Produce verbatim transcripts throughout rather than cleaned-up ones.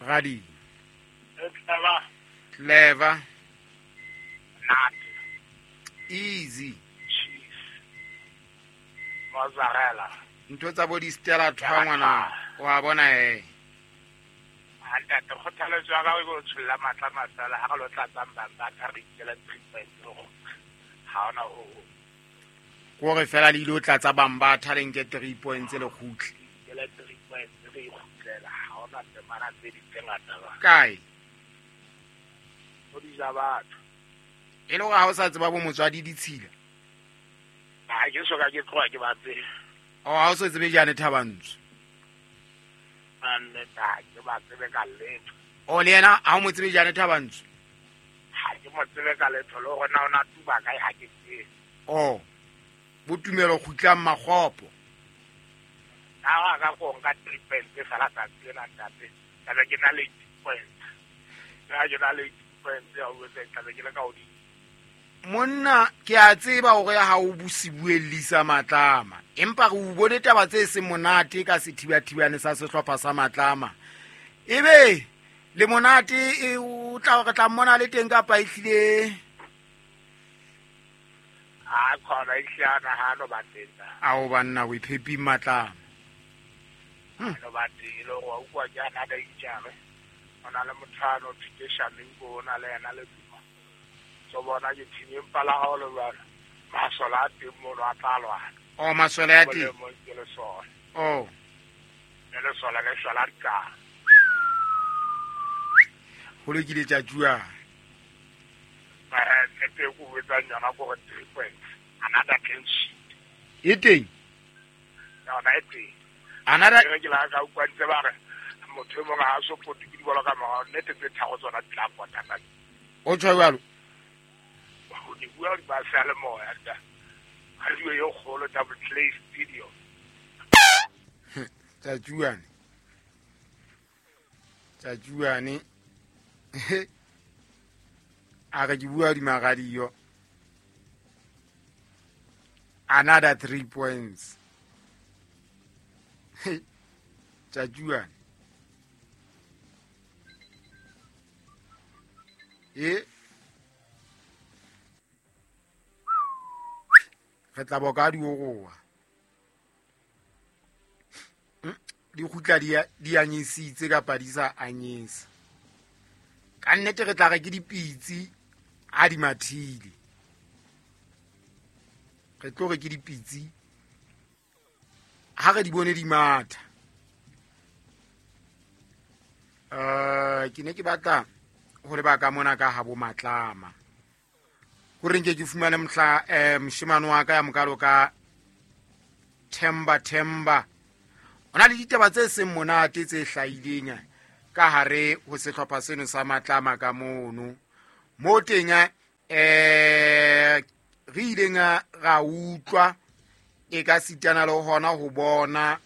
Radio clever clever nat easy cheese mozzarella ntho tsa bo di Stella thwa ngwana wa bona eh ntate kgothaletso ya ka o tsholla matla masala ha re lo tlatsang bang ba tha re ikela three points ha ona o gore fela le ile tlatsa bang ba tha le nke three points le kgutle ikela three points re ikgutlela ha ona temana tse di tse ngata ba kae o di ja batho e le gore ha o sa tseba bo motswadi ditshila ha ke so ka ke tloha ke ba tsebe o ha o so tsebe jane Thabantsho ane ta ke ba tsebe ka letho o le yena ha o mo tsebe jane Thabantsho ha ke mo tsebe ka letho le gore na o na tuba kae ha ke tsebe o bo tumelo kgutlang makgopo ha wa ka go nka three points fela tsatsi lena ntate tlabe ke na le eight points ha ke na le eight points ya o tse tlabe ke le ka hodimo monna ke a tseba hore ha o busibuellisa Matlama empa re o bone taba tse seng monate ka sethibathibane sa sehlopha sa Matlama ebe le monate e o tla re tla mmona le teng kapa e hlile a khona e hlana ha no ba teng a o banna o iphepi Matlama no ba teng le go ukwa ke ana da itjare ona le mothano thike shamingo ona le yena le so bona ke team empa la hao le jwalo masole a teng mono a tla lwana o masole a teng ke lesole o le lesole le shwala dikala ho lokile tjatjua eh nnete e ko betsang yona ko gore three points another clean sheet e teng yona e teng another ke la ka utlwa ntse ba re motho e mongwe ha a so pote ke dibolo ka morao nnete tse tharo tsona di tla pota ka o tjho jwalo o di bua di ba seyalemoya nta radio e kgolo Double Clay Studio tjatjuane tjatjuane a re ke bua di radio another three points tjatjuane e re tla boka di oroa di kgutla di di anyisitse kapa di sa anyisa ka nnete re tla re ke dipitsi ha di mathile re tlo re ke dipitsi ha re di bone di matha eh ke ne ke batla hore ba ka mona ka ha bo Matlama hore nke ke fumane mohla eh moshemane wa ka ya mokalo ka Themba Themba ona le ditaba tse seng monate tse hlahileng ka hare ho sehlopha seno sa Matlama ka mono mo teng eh re ileng ra utlwa e ka sitana le hona ho bona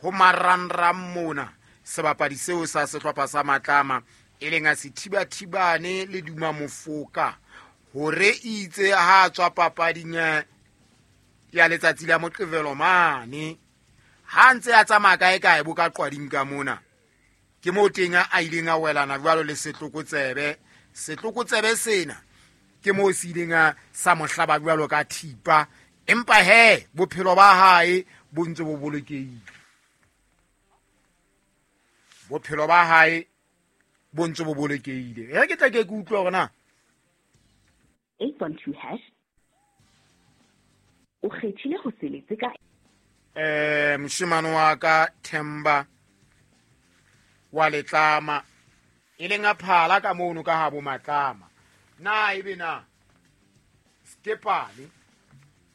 ho marangrang mona sebapadi seo sa sehlopha sa Matlama e leng a sethibathibane le Duma Mofoka hore itse ha tswa papading ya letsatsi la Moqebelo mane ha ntse a tsamaya kae kae bo ka qwading ka mona ke mo teng a ileng a welana jwalo le setlokotsebe setlokotsebe sena ke mo se ileng a sa mohlaba jwalo ka thipa empa he bophelo ba hae bo ntse bo bolokehile bophelo ba hae bo ntse bo bolokehile e ke tla ke ke utlwa hore na eight one two hash o kgethile ho seletse ka eh moshemane wa ka Themba wa Letlama e leng a phala ka mono ka ha bo Matlama na ebe na skepane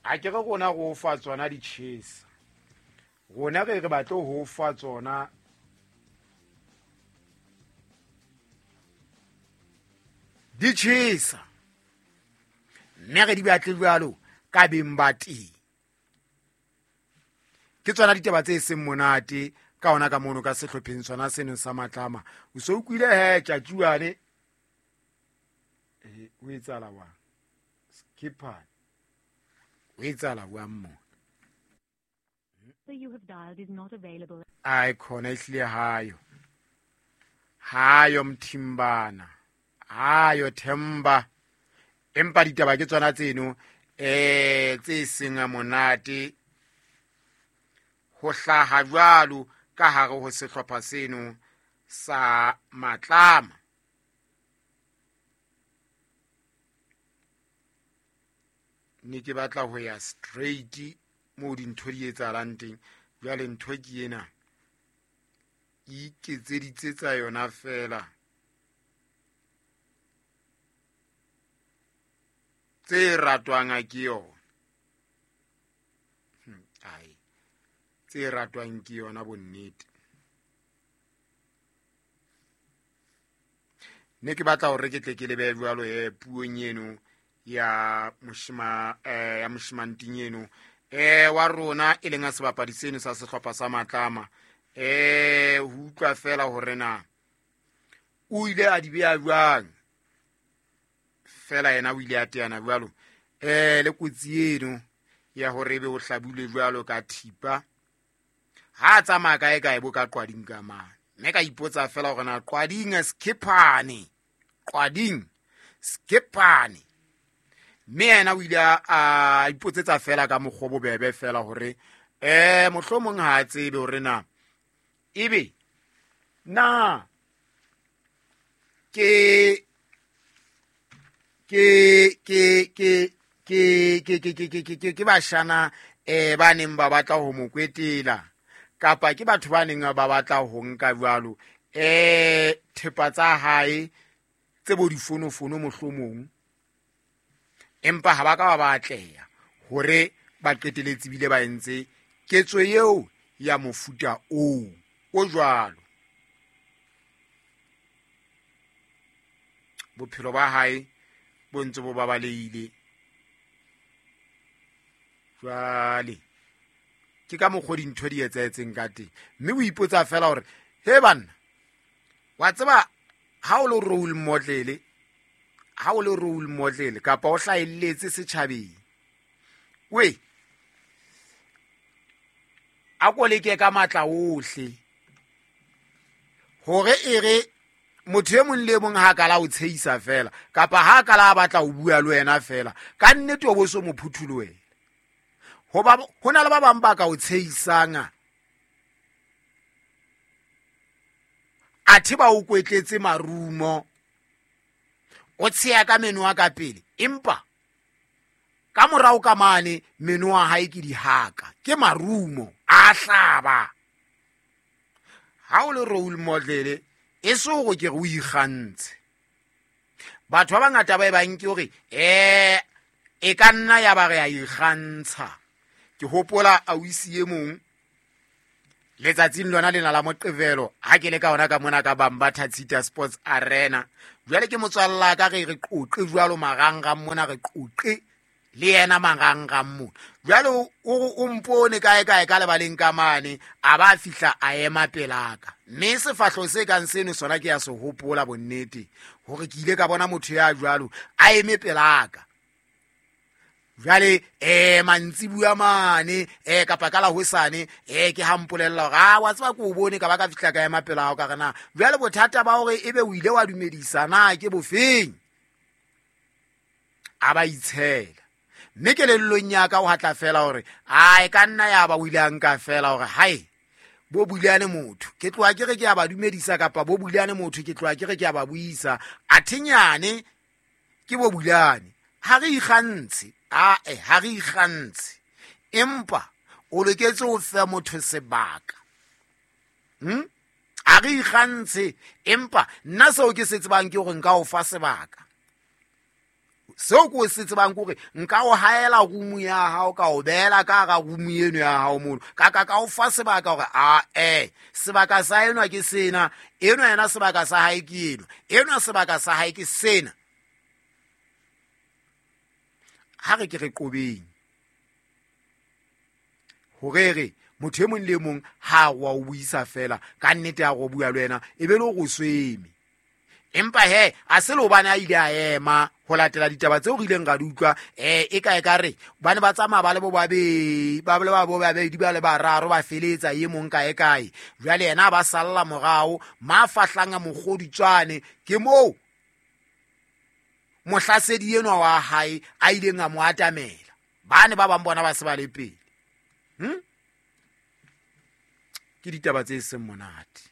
a ke re rona go fa tsona di chesa rona re re batle ho fa tsona di chesa mme re di batle jwalo ka beng ba teng ke tsona ditaba tse seng monate ka ona ka mono ka sehlopheng sona seno sa Matlama o so utlwile he tjatjuane eh o etsala wa skipper o etsala wa mo you have dialed is not available ai khona ihlile hayo Hayo Mthimbana, hayo Themba, empa ditaba ke tsona tseno eh tse seng monate ho hlaha jwalo ka hare ho sehlopha seno sa Matlama. Ne ke batla ho ya straight mo dintho di etsahalang teng. Jwale ntho ke ena iketseditse tsa yona fela tse ratwang ke yona. Ai, tse ratwang ke yona bonnete. Ne ke batla hore ke tle ke lebe jwalo e puong eno ya moshima eh ya moshimanting eno eh wa rona e leng a sebapadi seno sa sehlopha sa Matlama. Eh ho utlwa fela hore na o ile a di beya jwang fela yena o ile a teana jwalo eh le kotsi eno ya hore ebe o hlabule jwalo ka thipa ha tsamaya kae kae bo ka Qwading ka mane. Mme ka ipotsa fela hore na Qwading Skephane, Qwading Skephane, mme yena o ile a ipotsetsa fela ka mokgwa bobebe fela hore eh mohlomong ha a tsebe hore na ebe na ke ke ke ke ke ke ke ke ke ke ke bashana eh ba neng ba batla ho mo kwetela kapa ke batho ba neng ba batla ho nka jwalo eh thepa tsa hae tse bo difonofono mohlomong, empa ha ba ka ba batleha hore ba qeteletse bile ba entse ketso eo ya mofuta oo o jwalo. Bophelo ba hae bo ntse bo babalehile jwale ke ka mokgwa dintho di etsahetseng ka teng. Mme o ipotsa fela hore he banna, wa tseba ha o le role model, ha o le role model kapa o hlahelletse setjhabeng, we a ko leke ka matla ohle hore e re motho e mong le mong ha ka la o tsheisa fela kapa ha ka la batla ho bua le wena fela, ka nnete o bo so mo phuthulohela. Hoba ho na le ba bang ba ka o tsheisang athe ba o kwetletse marumo, o tsheya ka meno a ka pele, empa ka morao ka mane meno a hae ke dihaka, ke marumo a hlaba. Ha o le role model e so go ke re o ikgantshe. Batho ba bangata ba e bang ke hore eh e ka nna ya ba re a ikgantsha. Ke hopola a wisi e mong letsatsing lona lena la Moqebelo ha ke le ka ona ka mona ka Bambatha Tshita Sports Arena. Jwale ke motswalla ka re re qoqe jwalo marangrang mona, re qoqe le yena marangrang mona. Jwale o mpone kae kae ka lebaleng ka mane, a ba fihla a ema pelaka. Mme sefahlo se kang seno sona ke ya se hopola bonnete hore ke ile ka bona motho ya jwalo a eme pelaka. Jwale eh mantsibuya mane eh kapa ka la hosane eh ke ha mpolella hore a wa tseba ke o bone ka ba ka fihla ka ema pela hao ka re na jwale bothata ba hore ebe o ile wa dumedisa na ke bofeng. A ba itshela mme kelellong ya ka o hatla fela hore a e ka nna ya ba o ile a nka fela hore hai bo buleane motho ke tloha ke re ke ya ba dumedisa kapa bo buleane motho ke tloha ke re ke ya ba buisa, athenyane ke bo buleane. Ha re ikgantshe, a eh ha re ikgantshe, empa o loketse ho fa motho sebaka. Hm a re ikgantshe, empa nna seo ke se tsebang ke hore nka o fa sebaka. Seo ke se tsebang ke hore nka o haela room ya hao, ka o beela ka hara room eno ya hao mono, ka ka ka o fa sebaka hore a eh sebaka sa enwa ke sena, enwa yena sebaka sa hae ke eno, enwa sebaka sa hae ke sena. Ha re ke re qobeng hore re motho e mong le mong ha wa o buisa fela ka nnete ya go bua le wena e be le go sweme, Empa he a se le hobane a ile a ema ho latela ditaba tseo re ileng ra di utlwa, um e ka e ka re ba ne ba tsamaya ba le bo babedi, ba le ba bo babedi ba le bararo, ba feletsa e mong kae kae. Jwale yena a ba salla morao, ma fahlang a mokgoditswane ke moo mohlasedi enwa wa hae a ileng a mo atamela. Ba ne ba bang bona ba se ba le pele. Hmm? Ke ditaba tse seng monate.